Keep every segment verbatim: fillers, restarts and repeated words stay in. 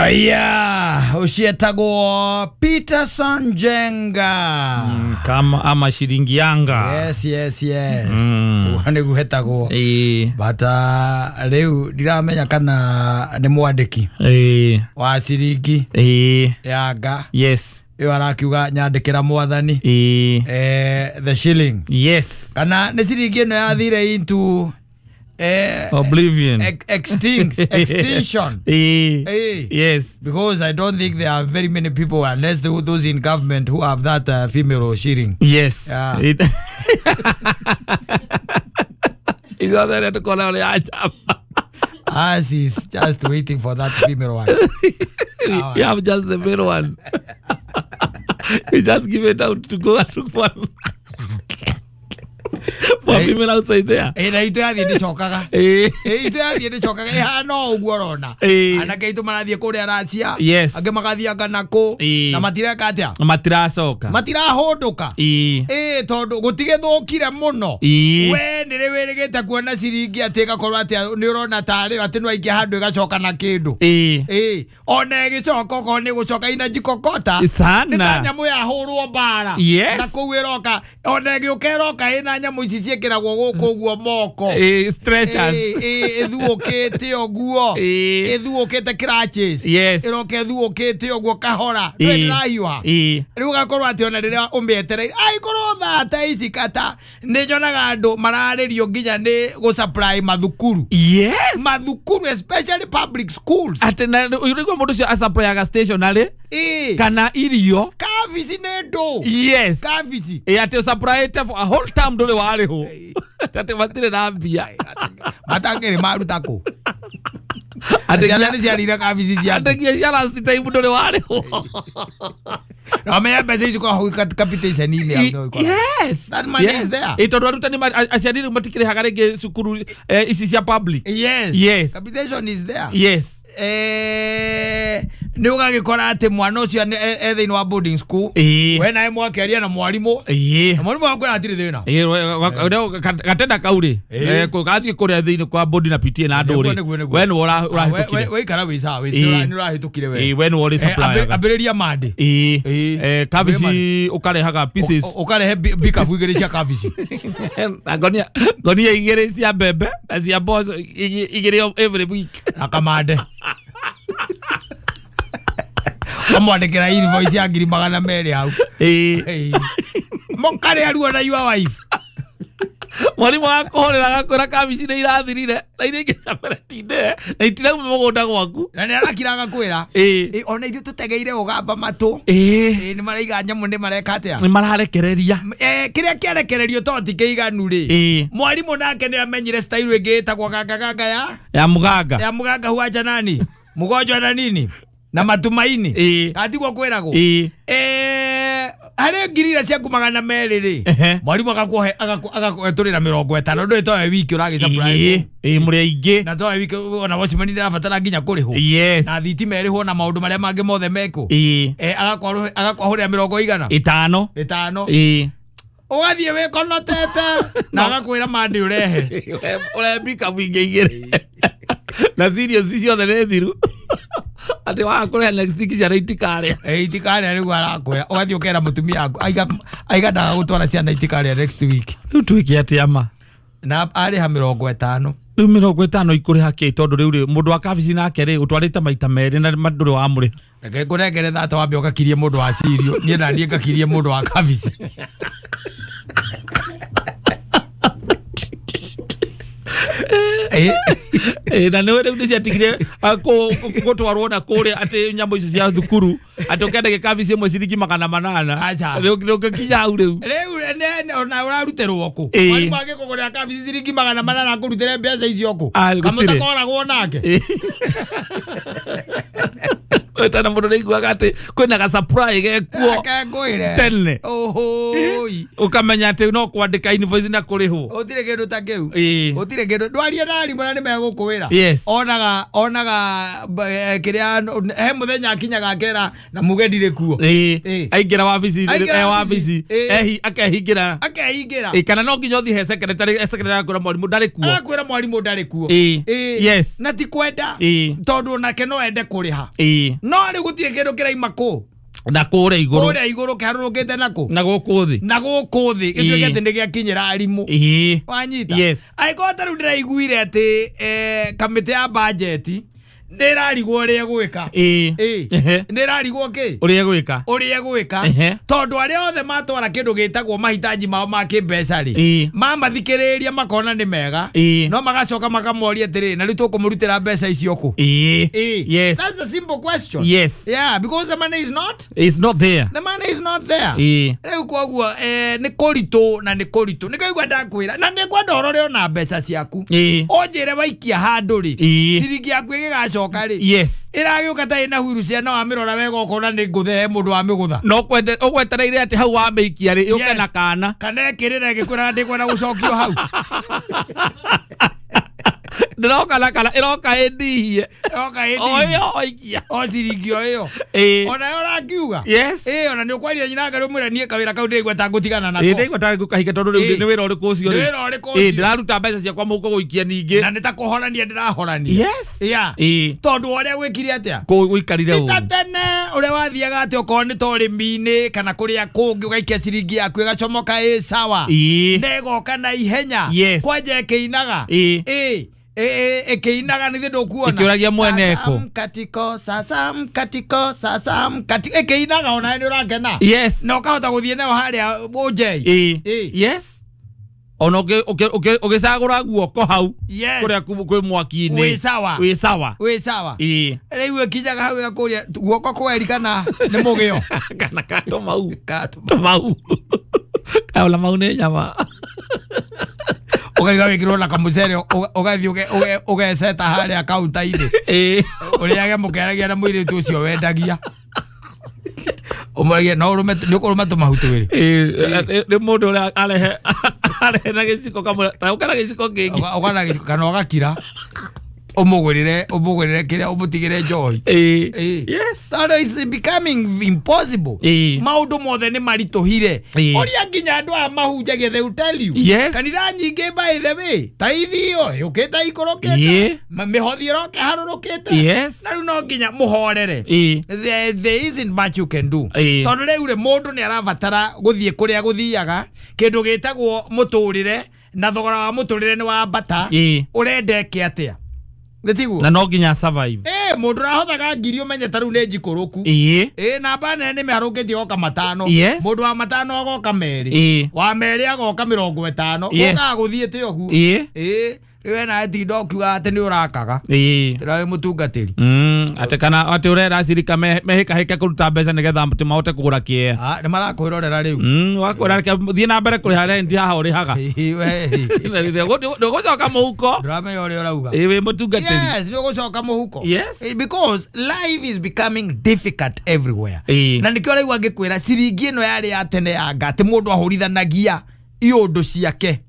Aya, ucietagwo Peterson Njenga. Mm, kama ama shilingi yanga. Yes, yes, yes. Mm. Uguo niguo hetagwo. Eh. But uh, riu ndiramenya kana ni mwandiki. Eh. Wa ciringi. Eh. Yanga. Yes. Iyo arakiuga nyandikira mwathani. Eh. Eh, the shilling. Yes. Kana ni ciringi ino yathire into Eh, oblivion. Ex extinct, extinction. Eh, eh. Yes. Because I don't think there are very many people, unless the, those in government who have that uh, female or shilling. Yes. Yeah. It It's not that to call out. As is just waiting for that female one. You have just the male one. You just give it out to go and look for one. For female outside there. Eh, na itu yathie ndicokaga. Eh, eh itu yathie ndicokaga ihana ũguo ũrona. Anake aitũ marathiĩ kũrĩa Racia. Yes. Angĩ magathiĩ anga nakũ. Na matireka atĩa? Matiracoka. Matirahũndũka. Eh, tondũ gũtigĩthũkire mũno. We nĩ wĩrĩgĩte kuona ciringi atĩ ĩgakorwo atĩ nĩ ũrona tarĩ atĩ no aikia handũ ĩgacoka na kĩndũ. Eh. Ona ĩgĩcoka okorwo nĩ gũcoka ina jikokota. Sana. Nĩ ta nyamũ yahũrwo mbara. Yes. Na kũu ĩroka ona ĩgĩũka ĩroka ĩna nyamũ ici ciĩkĩragwo gũkũ ũguo moko. Eh, stretchers. Eh, ĩthuũkĩte ũguo. Ĩthuũkĩte crutches. Yes. Ĩroka ĩthuũkĩte ũguo kahora. Ndũĩ ndĩrahiũha. Rĩu ũgakorwo atĩ ona rĩrĩa ũmĩetereire aikorwo thaa ta ici kata nĩ nyonaga andũ mararĩrio nginya nĩ gũ supply mathukuru. Yes. Mathukuru especially public schools. Atĩ na ũrĩguo mũndũ ũcio asupplyga stationery. Eh. Kana irio. Kabici nĩ ndũ. Yes. Kabici. Eh, atĩ ũsupplyĩte for a whole term ndũrĩ warĩhwo. Atĩ matirĩ na mbia. Matangĩrĩ maruta kũ? Atĩ ciana nĩ ciarĩire kabici cia andũ. Atĩ nginya cia last time ndũrĩ warĩhwo. Na menya mbeca ici kwa hau capitation-inĩ hau no ĩkoragwo. Yes. That money is there. Ĩ tondũ arutani aciari rĩu matikĩrĩhaga rĩngĩ cukuru ici cia public. Yes. Yes. Capitation is there. Yes. Eh, nĩ ũgagĩkora atĩ mwana ũcio e thĩinĩ wa boarding school. We nawe mwakĩaria na mwarimũ. Na mwarimũ akwĩra hatirĩ thĩna. Gatenda kau rĩ gathiĩ kũrĩa thĩinĩ kwa board na P T A na andũ rĩ we nĩwe ũrahĩtũkire. Waikara wĩ sawa nĩ ũrahĩtũkire we. We nĩwe ũrĩ supplier. Ambĩrĩria mande. Kabici ũkarehaga pieces. Ũkarehe bikabu igĩrĩ cia kabici. Na ngonia ngonia igĩrĩ cia mbembe na cia mboco igĩrĩ every week. Na kamande. Kamwandĩkĩra invoice ya ngiri magana merĩ hau. Eh. Mũkarĩa ruo na your wife. Mwarimũ akũhũrĩra agakwĩra kabici nĩ irathirire na iria ingĩ ciameretinde na itirauma mũgũnda gwaku. Na nĩ arakira agakwĩra. Ĩ ona ithuĩ tũtegeire ũgamba matũ. Ĩ nĩ maraiga nyamũ nĩ mareka atĩa? Nĩ mararekereria. Eh, kĩrĩa kĩarekererio to ti kĩiganu rĩ. Mwarimũ nake nĩ amenyire style ĩngĩ ĩtagwo ganga ganga ya ya mũganga. Ya mũganga huacha nani? Mgonjwa na nini? Na matumaini. Katigwo kwĩragwo. Eh, harĩ ngiri iria ciaku magana merĩ rĩ. Mwarimũ agakuhe agakũhetũrĩra mĩrongo ĩtano ndũĩ towe wiki ũragĩ supply. Ĩ mũrĩ aingĩ. Na towe wiki ona watchman ndĩrabatara nginya kũrĩhwo. Yes. Na thitima ĩrĩhwo na maũndũ marĩa mangĩ mothe mekwo. Ĩ. Eh, agakwahũrĩra mĩrongo igana. Ĩtano. Ĩtano. Ĩ. Ũgathiĩ wĩkonotete na agakwĩra mande ũrehe. Ũrehe bikabu ingĩ igĩrĩ. Na cereals ciothe nĩ thiru. Atĩ waga kũrĩha next week ciana itikarĩa. Eh, itikarĩa nĩguo arakwĩra. Ũgathiĩ ũkera mũtumia waku aiga aiga ndagagũtwara ciana itikarĩa next week. Rĩu twĩke atĩa ma? Na arĩha mĩrongo ĩtano. Rĩu mĩrongo ĩtano ikũrĩha kĩ tondũ rĩu rĩ mũndũ wa kabici nake rĩ ũtwarĩte maita merĩ na ndũrĩ wamũrĩha. Reke ngũnengere thata wambe ũgakirie mũndũ wa cirio niĩ na niĩ ngakirie mũndũ wa kabici. Eh, na nĩ rĩu nĩ ciatigire gũtwarwo na kũrĩa atĩ nyamũ ici cia thukuru atĩ ũkenda gĩkabici ĩmwe ciringi magana manana. Rĩu ũngĩkinya hau rĩu. Rĩu ona ũrarutĩrwo kũ? Mwarimũ angĩkũgũrĩra kabici ciringi magana manana akũrutĩre mbeca icio kũ? Gũtirĩ. Kamũtakoragwo nake. Tena mũndũ nĩaiguaga atĩ kwĩna ga supply gekuo Reke tene. Ohoi. Ũkamenya atĩ no kwandĩka invoice na kũrĩhwo. Gũtirĩ kĩndũ ta kĩu. Ĩĩ. Gũtirĩ kĩndũ. Ndwarie na arimũ na nĩmegũkwĩra. Yes. Onaga onaga eh, kĩrĩa he mũthenya akinyaga akera na muge ndirĩ kuo. Ĩĩ. Ĩĩ. Aingĩra wabici Aingĩra e wabici. wabici Ĩĩ. ehi akehingĩra. Akehingĩra. Ĩĩ, kana no nginya ũthiĩ he secretary he secretary akwĩra mwarimũ ndarĩ kuo. Agakwĩra mwarimũ ndarĩ kuo. Ĩĩ. Ĩĩ. Yes. Na ti kwenda. Ĩĩ. Tondũ onake no ende kũrĩha. Ĩĩ. No rĩu gũtirĩ kĩndũ kĩraima kũ. Na kũrĩa igũrũ. Kũrĩa igũrũ kĩharũrũkĩte nakũ. Na gũkũ thĩ. Na gũkũ thĩ gĩtuĩke Ĩĩ. atĩ nĩ gĩakinyĩra arimũ. Ĩĩ. Wanyita. Yes. Angĩkorwo ta rĩu ndĩraiguire atĩ eh, kamĩtĩ ya bajeti nĩ ĩrarigwo ũrĩa ĩgwĩka. Ĩĩ. Ĩĩ. Ehe. Nĩ ĩrarigwo kĩ? Ũrĩa ĩgwĩka. Ũrĩa ĩgwĩka. Ehe. Tondũ arĩa othe matwara kĩndũ gĩtagwo mahitaji mao ma kĩmbeca rĩ, Ĩĩ. mamathikĩrĩria makona nĩ mega, Ĩĩ. no magacoka makamoria atĩrĩ, na rĩu tũkũmũrutĩra mbeca icio kũ? Ĩĩ. Ĩĩ. Yes. That's a simple question. Yes. Yeah, because the money is not It's not there. the money is not there. Ĩĩ. Rĩu koguo eh, nĩ kũritũ na nĩ kũritũ nĩkĩo igua ndakwĩra na nĩ ngwenda ũrore ona mbeca ciaku. Ĩĩ. Ũnjĩre waikia handũ rĩ, Ĩĩ. ciringi yaku ĩgĩgacoka rĩ, Yes. ĩragĩũka ta ĩna huiru ciana wamĩrora wega ũkona nĩ ngũthe he mũndũ wamĩgũtha. No kwende ũgwetereire atĩ hau wamĩikia rĩ yũke Yes. na kana. Kana ĩkĩrĩra ĩgĩkwĩra ndĩkwenda gũcokio hau. Ndĩroka na kana ĩroka ĩndihie. Ĩroka O ĩndihie. ĩyo waikia. O ciringi o ĩyo. Ĩĩ. Ona yo ũrangiuga. Yes. Ĩĩ, ona nĩ ũkwaria nyina Ngai ũmwĩre niĩ kawĩra kau ndĩraigua ta ngũtigana nako. Ĩĩ ndaigua tarĩ ngũkahinga tondũ rĩu Ĩĩ. nĩ wĩra ũrĩkũ ũcio Nĩ rĩ? wĩra ũrĩkũ Ĩĩ ũcio? ndĩraruta mbeca ciakwa mũhuko gũikia ningĩ. Na nĩ ta kũhorania ndĩrahorania. Yes. Yeah. Ĩĩ. Tondũ wa ũrĩa gwĩkire atĩa? Kũ gũikarire Ti ta ũru. tene ũrĩa wathiaga atĩ okorwo nĩ ta ũrĩmi-inĩ kana kũrĩa kũngĩ ũgaikia ciringi yaku ĩgacomoka ĩ sawa. Ĩĩ. Na ĩgoka na ihenya. Yes. Kwanja ĩkĩinaga. Ĩĩ. Ĩĩ. Ĩĩ ĩkĩinaga nĩ ndũkuona. Ĩkĩũragia mwene Sasa kũ. mkatiko, sasa mkatiko, sasa mkatiko. Ĩkĩinaga ona nĩ ũrakena. Yes. Na ũkahota gũthiĩ nayo harĩa ũnjei. Ĩĩ. Ĩĩ. Yes. Ona ũngĩ- ũngĩ- ũngĩ- ũgĩcagũra guoko hau Yes. kũrĩa ku- kwĩ mwaki-inĩ. Wĩ sawa. Wĩ sawa. Wĩ sawa. Ĩĩ. Rĩu ĩkinyaga hau ĩgakũria guoko kweri kana nĩ mũgĩo. Kana ka tũmau. Ka- Tũmau. Kaũla mau nĩ nyama. Ũkaiga wĩkĩrwo na kamũcere ũga- ũgathiĩ ũge- ũge- ũgeceta harĩa kaunta-inĩ. Ĩĩ. Ũrĩage mũkĩaragia na mũirĩtu ũcio wendagia. Ũmũragie no ũrũme nĩ ũkũrũma tũmahu twĩrĩ. Ĩĩ, nĩ mũndũ ũrĩa arehe arehe na gĩciko kamwe ta ũka na gĩciko kĩngĩ. Ũga- ũgana gĩciko kana ũgakira. Ũmũgũrĩre ũmũgũrĩre kĩrĩa ũmũtigĩre njohi. Ĩĩ. Ĩĩ. Yes. Tondũ it's becoming impossible. Ĩĩ. Maũndũ mothe nĩ maritũhire. Ĩĩ. Ũria nginya andũ aya mahunjagia they will tell you. Yes. Kanitha nyingĩ by the way ta ithio yũkĩte ikũrũkĩte. Ĩĩ. Ma- Mĩhothi ĩroka ĩharũrũkĩte. Yes. Na rĩu no nginya mũhorere. Ĩĩ. There, there isn't much you can do. Ĩĩ. Tondũ rĩu rĩ mũndũ nĩ arabatara gũthiĩ kũrĩa gũthiaga kĩndũ gĩtagwo mũtũrĩre na thogora wa mũtũrĩre nĩ wambata. Ĩĩ. Ũrenda ĩke atĩa? Nĩ tiguo? Na no nginya survive. Ĩĩ mũndũ ũrahothaga ngiri ũmenye ta rĩu nĩ njikũrũku. Ĩĩ. Ĩĩ namba nene nĩ mĩharũkĩtie goka matano. Yes. Mũndũ wa matano agoka merĩ. Ĩĩ. Wa merĩ agoka mĩrongo ĩtano. Yes. Ũkaga gũthiĩte ũguo. Ĩĩ. Ĩĩ. Rĩu wena tinda ũkiuga atĩ nĩ ũrakaga. Ĩĩ. Tĩra wĩ mũtungatĩri. Mm, atĩ kana atĩ ũrera acirika mehĩkahĩke kũruta mbeca nĩgetha atĩ mahote kũgũra kĩea. Ah, nĩ marakwĩrorera rĩu. Mm, wakwĩra reke thiĩ na mbere kũrĩha rent haha ũrĩhaga. Ĩĩ, we. Ndũgũcoka mũhuko. Ndũramenya ũrĩa ũrauga. Ĩĩ wĩ mũtungatĩri. Yes, nĩ ũgũcoka mũhuko. Yes. Eh, because life is becoming difficult everywhere. Ĩĩ. Na nĩkĩo ũraigua ngĩkwĩra ciringi ĩno yarĩ ya tene ya nga atĩ mũndũ ahũrithanagia iũndũ ciake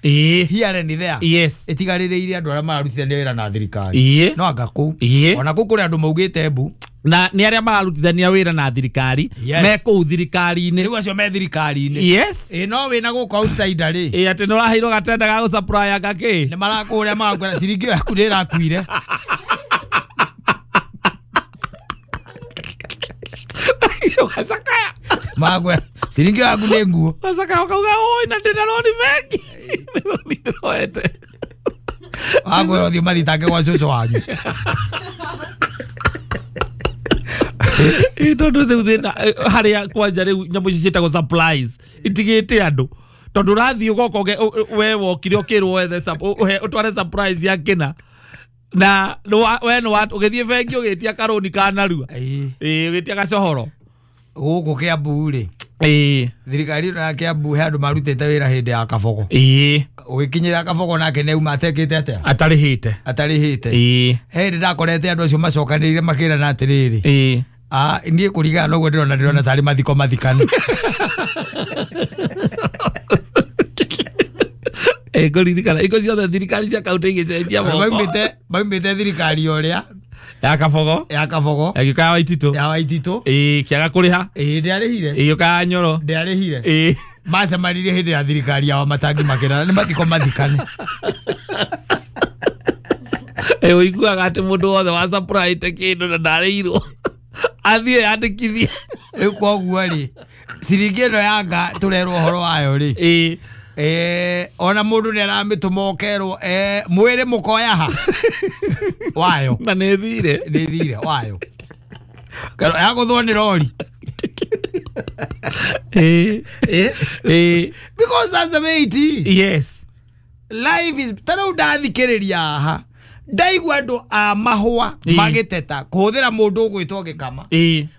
Ĩĩ. here and there. Yes. Ĩtigarĩrĩire andũ arĩa mararutithania wĩra na thirikari. Ĩĩ. No anga kũu. Ĩĩ. Ona kũu kũrĩ andũ maugĩte mbu. Na nĩ arĩa mararutithania wĩra na thirikari Yes. me kũu thirikari-inĩ. Rĩu acio me thirikari-inĩ. Yes. Ĩĩ no wĩna gũkũ outsider rĩ. Ĩĩ atĩ nĩ ũraheirwo gatenda ga gũsupply anga kĩ? Nĩ marakũrĩa magakwĩra ciringi ĩyo yaku nĩ ĩrakuire. Ũgacakaya. Magakwĩra ciringi ĩyo yaku nĩ nguo. Ũgacakaya ũkauga oi na ndĩna roni bengi. Nĩ roni ndĩroete. Magakwĩra ũthiĩ mathitange gwa cũcũ wanyu. Ĩĩ tondũ rĩu thĩna harĩa kwanja rĩu nyamũ ici ciĩtagwo supplies itigĩte andũ tondũ ũrathiĩ ũgoka we wokire ũkĩrwo wethe ũtware surprise ya kĩna na we nĩ ũgĩthiĩ bengi ũgĩtia karũni ka narua. Ĩĩ. Ĩĩ ũgĩtia gacohoro. Gũkũ Kĩambu rĩ. Ĩĩ. Thirikari ĩno ya Kĩambu he andũ marutĩte wĩra hĩndĩ ya Kabogo. Ĩĩ. Ũgĩkinyĩra Kabogo nake nĩ auma atekĩte atĩa? Atarĩhĩte. Atarĩhĩte. Ĩĩ. He hĩndĩ ndakorete andũ acio macokanĩrĩire makĩrana atĩrĩrĩ. Ĩĩ. Ah, niĩ kũringana na ũguo ndĩrona ndĩrona tarĩ mathiko mathikane. Eh, ngũririkana iko ciothe thirikari cia kaunti igĩcenjia moko. Maumĩte maumĩte thirikari ũrĩa ya Kabogo ya Kabogo ĩgĩũka ya Waititũ ya Waititũ ĩĩ kĩaga kũrĩha ĩĩ ndĩarĩhire ĩgĩũka ya Nyoro ndĩarĩhire ĩĩ macemanirie hĩndĩ ya thirikari ya Wamatangi makĩrana nĩ mathiko mathikane. Ĩ ũiguaga atĩ mũndũ wothe wa supplyte kĩndũ na ndarĩirwo athiĩ yandĩkithie. Rĩu koguo rĩ ciringi ĩno yanga tũrerwo ũhoro wayo rĩ ĩĩ eh ona mũndũ nĩ aramĩtũma ũkerwo eh mwĩrĩ mũkoya ha wayo na nĩ thire nĩ thire wayo kero yagũthwo nĩ rori. Eh eh because that's the way it is. Yes, life is ta rĩu ndathikĩrĩria haha ndaigua andũ a mahũa magĩteta kũhũthĩra mũndũ ũgwĩtwo Gĩkama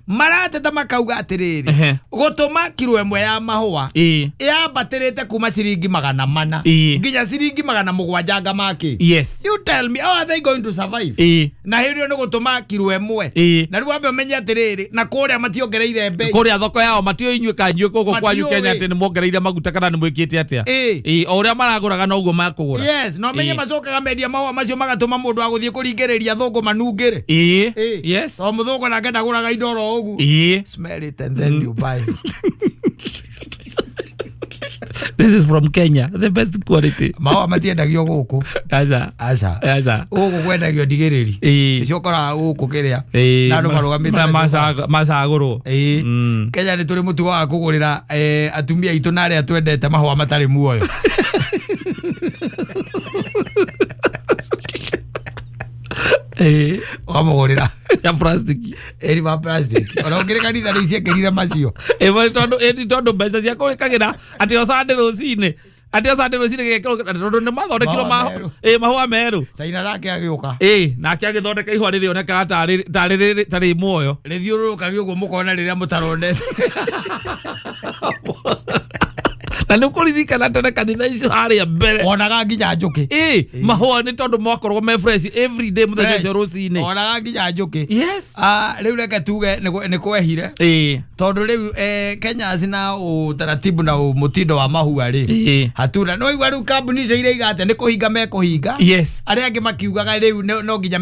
marateta makauga atĩrĩrĩ gũtũma kiro ĩmwe ya mahũa yambatĩrĩte kuma ciringi magana mana nginya ciringi magana mũgwanja ngamakĩ. Yes, you tell me how are they going to survive? Na hĩndĩ ĩyo nĩ gũtũma kiro ĩmwe na rĩu wambe ũmenye atĩrĩrĩ na kũrĩa mationgereire mbei kũrĩa thoko yao matio inyuĩ ka inyuĩ gũkũ kwanyu Kenya atĩ nĩ mongereire maguta kana nĩ mwĩkĩte atĩa. Ĩ o ũrĩa maragũraga noguo makũgũra. Yes, na ũmenye macokaga mendia mahũa macio magatũma mũndũ wa gũthiĩ kũringĩrĩria thũngũ manungĩre. Ĩ yes, o mũthũngũ nake ndagũraga indo oro ũguo. Ĩ smell it and then you buy. This is from Kenya, the best quality. Mahũa matiendagio gũkũ. Aca aca aca gũkũ kwendagio ndigĩrĩri icio ũkoraga gũkũ kĩrĩa na andũ marũgamĩte macagũrwo. Ĩ Kenya nĩ tũrĩ mũtugo wa kũgũrĩra atumia aitũ na arĩa twendete mahũa matarĩ muoyo. Eh, wamũgũrĩra ya plastic ĩri ma plastic ona ũngĩrĩ kanitha rĩu ciekĩrire macio. Ĩ tondũ ĩ tondũ mbeca cia kũrĩkagĩra atĩ o Sunday rũcinĩ atĩ o Sunday rũcinĩ gĩgekĩrwo tondũ nĩ mathondekirwo ĩ mahũa merũ. Caina nake agĩũka ĩ nake agĩthondeka ihũa rĩrĩonekaga tarĩ tarĩ tarĩ muoyo rĩthiũrũrũkagio ũguo mũkona rĩrĩa mũtaronete. Na nĩ ũkũririkana tene kanitha icio harĩa mbere wonaga nginya njũkĩ. Ĩ mahũa nĩ tondũ makoragwo me fresh every day mũthenya ũcio rũcinĩ wonaga nginya njũkĩ. Yes, ah rĩu reke tuge nĩ kwehire ĩ tondũ rĩu Kenya cina ũtaratibu na mũtindo wa mahũa rĩ hatuna no igua rĩu kambuni icio iraiga atĩ nĩ kũhinga mekũhinga. Yes, arĩa angĩ makiugaga rĩu no nginya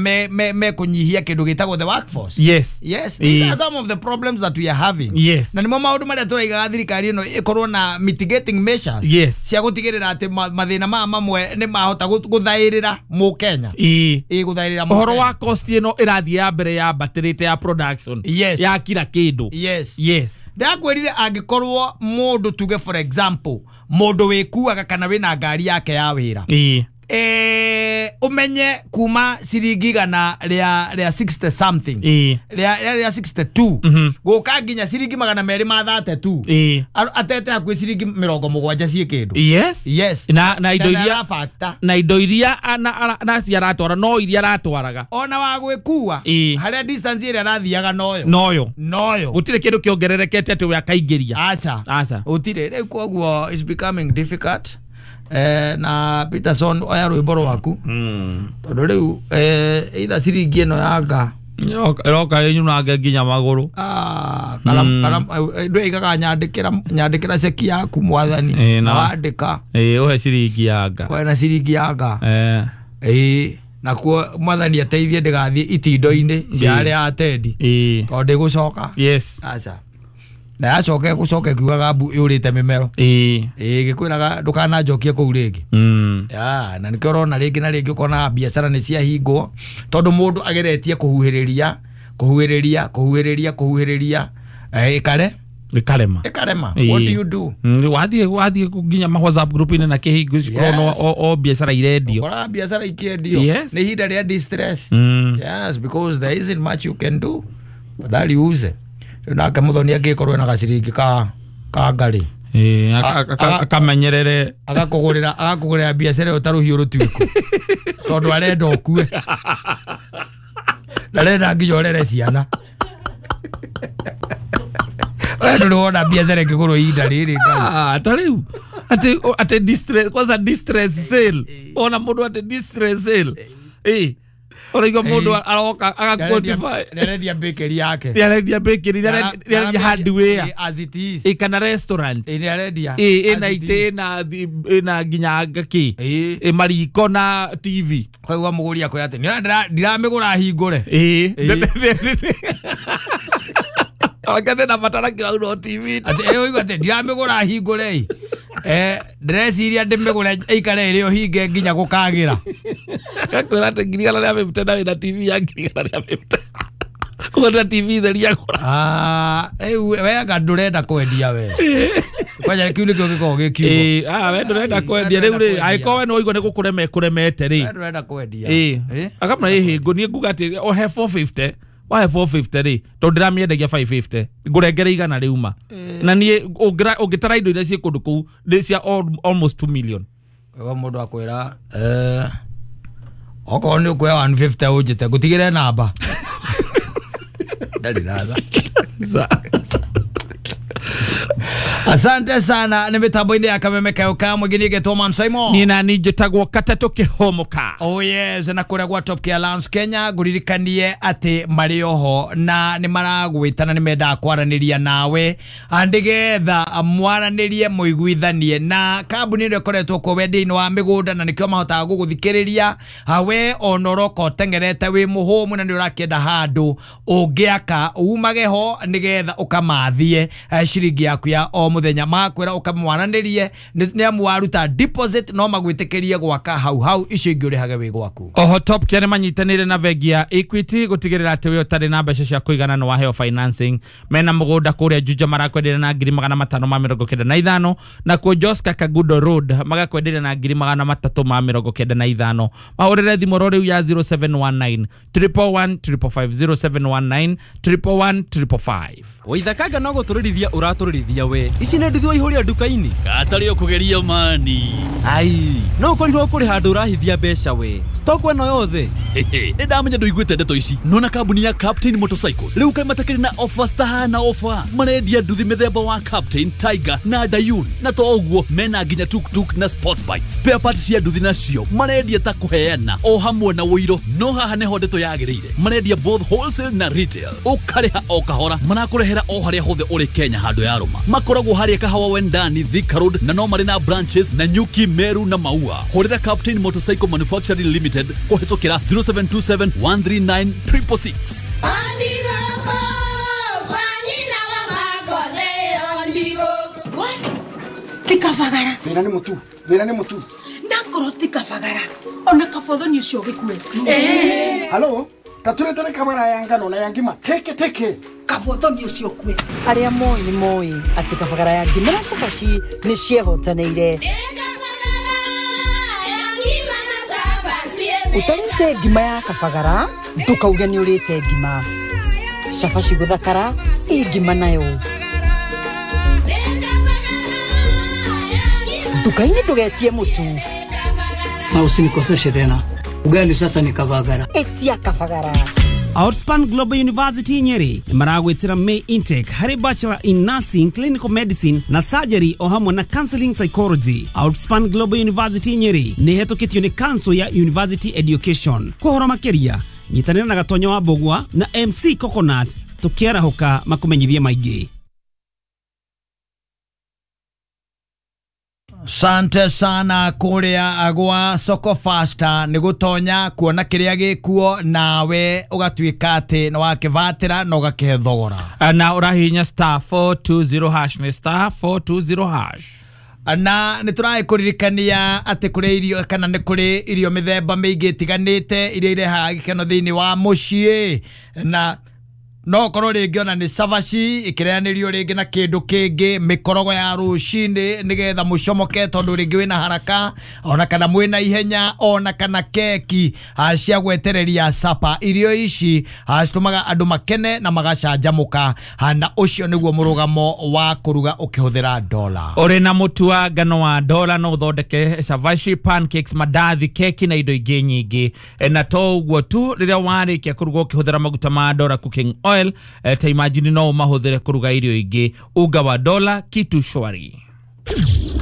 mekũnyihia kĩndũ gĩtagwo the workforce. Yes, yes, these are some of the problems that we are having. Yes, na nĩmo maũndũ marĩa tũraigaga thirikari ĩno ĩkorwo na mitigating measures yes cia gũtigĩrĩra atĩ mathĩna maya mamwe nĩ mahota gũthaĩrĩra mũkenya. Ĩ ĩ gũthaĩrĩra ũhoro wa cost ĩno ĩrathiĩ ya mbere yambatĩrĩte ya production. Yes, ya kila kĩndũ. Yes, yes, ndakwĩrire angĩkorwo mũndũ tuge for example mũndũ wĩkuaga kana wĩna ngari yake ya wĩra ĩ eh umenye kuma ciringi igana rĩa rĩa sixty something ĩ rĩa rĩa sixty two gũka nginya ciringi magana merĩ ma thirty two ĩ atete hakuhĩ ciringi mĩrongo mũgwanja ciĩ kĩndũ. Yes, yes, na na indo iria na indo iria na na ciaratwara no iria aratwaraga ona wa gwĩkua harĩa distance ĩrĩa arathiaga noyo noyo noyo gũtirĩ kĩndũ kĩongererekete atĩ we akaingĩria. Aca aca gũtirĩ. Rĩu koguo is becoming difficult. Eh, na Peterson oya rwĩmbo rwaku tondũ rĩu eh, either ciringi ĩno yanga ĩroka ĩnyunange nginya magũrũ. Ah, ndwaigaga nyandĩkĩra nyandĩkĩra ceki yaku mwathani na wandĩka ĩ ũhe ciringi yanga kwena ciringi yanga eh ĩ nakuo mwathani ateithie ndĩgathiĩ itindo-inĩ cia arĩa atendi tondũ ndĩgũcoka. Yes, aca na yacoke gũcoke kiugaga mbu yũrĩte mĩmero ĩ ĩ gĩkwĩraga ndũkananjokie kũu rĩngĩ. Ya na nĩkĩo ũrona rĩngĩ na rĩngĩ ũkona biacara nĩ ciahingwo tondũ mũndũ ageretie kũhuhĩrĩria kũhuhĩrĩria kũhuhĩrĩria kũhuhĩrĩria ĩkare ĩkarema ĩkarema. What do you do? Wathiĩ wathiĩ nginya ma WhatsApp group-inĩ na kĩhingo ũrona o biacara irendio ũkora biacara ikĩendio nĩ ihinda rĩa distress. Yes, because there isn't much you can do afadhali uuze. Nake muthoni angĩkorwo na gaciringi ka ka ngari eh akamenyerere agakũgũrĩra agakũgũrĩra biacara ĩyo ta rũhiũ rũtuĩku tondũ arenda ũkue ndarenda nginya ũrere ciana. We ndũrĩ wona biacara ĩngĩgũrwo ihinda rĩrĩ Ngai. Ah, ta rĩu atĩ atĩ distress kwanza distress sale ona mũndũ atĩ distress sale eh Ũraigua mũndũ aroka agaquantify. Nĩarendia bakery yake. Nĩarendia bakery, nĩarendia hardware. As it is. Ĩ kana restaurant. Ĩ nĩarendia. Ĩ ĩna itĩ ĩna ĩna nginya ngakĩ. Ĩ mariko na T V. Kwaigua mũgũri akwĩra atĩ ndiramĩgũra hingũre. Ĩ. Onake na batara kĩraurwo T V. Atĩ ĩ ũigua atĩ ndiramĩgũra hingũre. Eh, ndĩreciria ndĩmĩgũre ĩikare ĩrĩ o hinge nginya gũkagĩra. Gakwĩra atĩ ngiri igana rĩa fifty na wĩna T V ya ngiri igana rĩa fifty. Kũgũra T V theri agũra. Ah, rĩu we anga ndũrenda kwendia we. Kwanja kĩu nĩkĩo gĩkoragwo gĩ kiugo. Ĩ, ah we ndũrenda kwendia rĩu rĩ, angĩkorwo we nĩ waigua nĩ gũkũrema ĩkũremete rĩ. We ndũrenda kwendia. Ĩ. Akamwĩra ĩ hĩngũ niĩ nguga atĩ ohe four fifty. Wahe four fifty rĩ, tondũ ndĩramĩendagia five fifty. Ngũrengere igana rĩuma. Na niĩ ũngĩtara indo iria ciĩ kũndũ kũu nĩ cia almost two million. Kwa mũndũ akwĩra eh okorwo nĩ ũkuoya one fifty ũnjĩte ngũtigĩre namba. Ndarĩ ratha. Asante sana nĩ mĩtambo-inĩ ya Kameme Kayo ka mũingĩ niĩ ngetwo Man Simon. Niĩ nani njĩtagwo Katatũ Kĩhũmũka. Oh yes, na kũrĩa gwa Top Care Lounge Kenya ngũririkanie atĩ marĩ oho na nĩ maragwĩta na nĩ mendaga kwaranĩria nawe nĩgetha mwaranĩrie mũiguithanie na kambuni ĩno ĩkoretwo kuo wendia-inĩ wa mĩgũnda na nĩkĩo mahotaga gũgũthikĩrĩria we ona ũroka ũteng'erete wĩ mũhũmũ na nĩ ũrakĩenda handũ ũngĩaka umage ho nĩgetha ũkamathie ciringi yaku ya o mũthenya makwĩra ũkamwaranĩrie nĩ amu waruta deposit no magwĩtĩkĩrie gwaka hau hau icio ingĩ ũrĩhage wĩ gwaku. Oho Top Care nĩmanyitanĩire na bengi ya Equity gũtigĩrĩra atĩ we ũtarĩ na mbeca cia kũigana nĩ waheo financing. Mena mũgũnda kũrĩa Juja marakwenderia na ngiri magana matano ma mĩrongo kenda na ithano na kuo Joska Kagudo Road magakwenderia na ngiri magana matatũ ma mĩrongo kenda na ithano. Mahũrĩre thimũ ro rĩu ya zero seven one nine triple one triple five zero seven one nine triple one triple five. Waithakaga no gũtũrĩrithia ũratũrĩrithia we ici nĩ nduthi waihũria nduka-inĩ katarĩ ũkũgeria mani. Ai no ũkorirwo kũrĩ handũ ũrahithia mbeca we stock ĩno yothe. Nĩ ndamenya ndũiguĩte ndeto ici nona kambuni ya Captain Motorcycles rĩu kaĩ matakĩrĩ na offers tahana offer marendia nduthi mĩthemba wa Captain, Tiger na Dayun na to ũguo mena nginya tuktuk na sport bike spare parts cia nduthi nacio marendia ta kũheana o hamwe na wũiro no haha nĩho ndeto yagĩrĩire marendia both wholesale na retail ũkarĩha o kahora marakũrehera o harĩa hothe ũrĩ Kenya handũ ya rũma makoragwo harĩa Kahawa Wendani Thika Road na no marĩ na branches na Nyuki, Meru na Maua. Hũrĩra Captain Motorcycle Manufacturing Limited kũhĩtũkĩra zero seven two seven one three nine triple six. Tikafagara. Thĩna nĩ mũtu, thĩna nĩ mũtu. Ndakorwo tikafagara. Ona kabothoni ũcio gĩkue. Eh. Halo, taturetere kamera ya ngano na ya ngima. Teke teke. Kabothoni ũcio kue. Arĩa moĩ nĩ moĩ atĩ kabagara ya ngima na cabaci nĩ ciehotanĩire. Ũtarĩte ngima ya kabagara ndũkauge nĩ ũrĩte ngima. Cabaci gũthakara ĩ ngima nayo. Nduka-inĩ ndũgetie mũtu. Na usinikoseshe tena. Ugali sasa ni kabagara. Etia kabagara. Outspan Global University Nyeri maragwitira May intake hari Bachelor in Nursing, Clinical Medicine na Surgery o hamwe na Counseling Psychology. Outspan Global University Nyeri ni hetũkĩtio nĩ Council ya University Education. Kũhoro makĩria nyitanĩra na Gatonyo wa Mbũgua na M C Coconut tukiarahũka makumenyithie maingĩ. Sante sana kuria gwa Soko Fasta nĩ gũtonya kuona kĩrĩa gĩkuo nawe ũgatuĩka atĩ nĩ wakĩvatĩra na ũgakĩhe thogora. Na ũrahihinya star four two zero hash nĩ star four two zero hash. Na nĩ tũragĩkũririkania atĩ kũrĩ irio kana nĩ kũrĩ irio mĩthemba mĩingĩ ĩtiganĩte iria irehaga gĩkeno thĩinĩ wa mũciĩ na no korwo rĩngĩ ona nĩ cabaci ĩkĩreanĩrio rĩngĩ na kĩndũ kĩngĩ mĩkorogo ya rũcinĩ nĩgetha mũcomoke tondũ rĩngĩ wĩna haraka ona kana mwĩna ihenya ona kana keki cia gwetereria sapa. Irio ici citũmaga andũ makene na magacanjamũka na ũcio nĩguo mũrũgamo wa kũruga ũkĩhũthĩra dola. Ũrĩ na mũtu wa ngano wa dola no ũthondeke cabaci, pancakes, mandathi, keki na indo ingĩ nyingĩ. Na to ũguo tu rĩrĩa warĩkia kũruga ũkĩhũthĩra maguta ma dola cooking oil, ta imagine no mahũthĩre kũruga irio ingĩ. Unga wa dola kitu shwari.